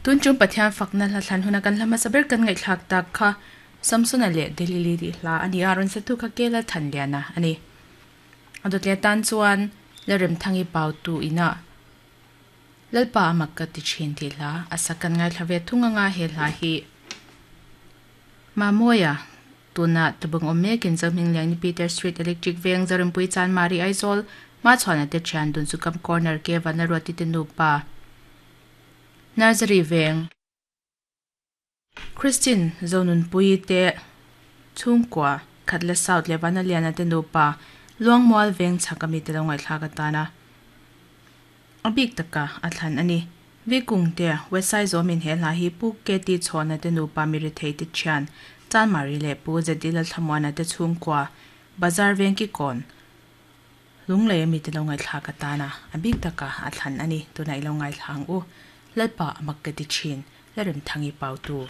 Tun chung Pathian fakna hla thlan huna kan hla hmasa ber kan ngaihthlak tak kha Samsona leh Delili tih hla a ni a, rawn satu kha Kela Thanliana a ni. A dawt leh tan chuan Lalremthangi Pautu inah Lalpa a mak ka ti thin tih hla a sak kan ngaithla ve thung anga he hla hi Mamawia Tuna tabung awm mekin Zohmingliang ni Peter Street Electric Veng Zorinpui Chanmari Aizawl Hmachhuana te thian dun chu Kam Corner ke Vanlaruati te nupa Nursery Veng Christine Zonunpuii te chhungkua Khatla South leh Vanaliana te nupa Luangmual Veng chhak ami te lo ngaihthlak atana a bik taka a thlan a ni. Vikung te West Saizawmin he hla hi Pu KT Chhawna te nupa Mirithei te thian Chanmari leh Pu ZD Lalthlamuana te chhungkua Bazar Vengkikawn Lunglei ami te lo ngaihthlak atana a bik taka a thlan a ni. Tunah i lo ngaithla ang u. Lalpa a mak ka ti thin. Lalremthangi Pautu.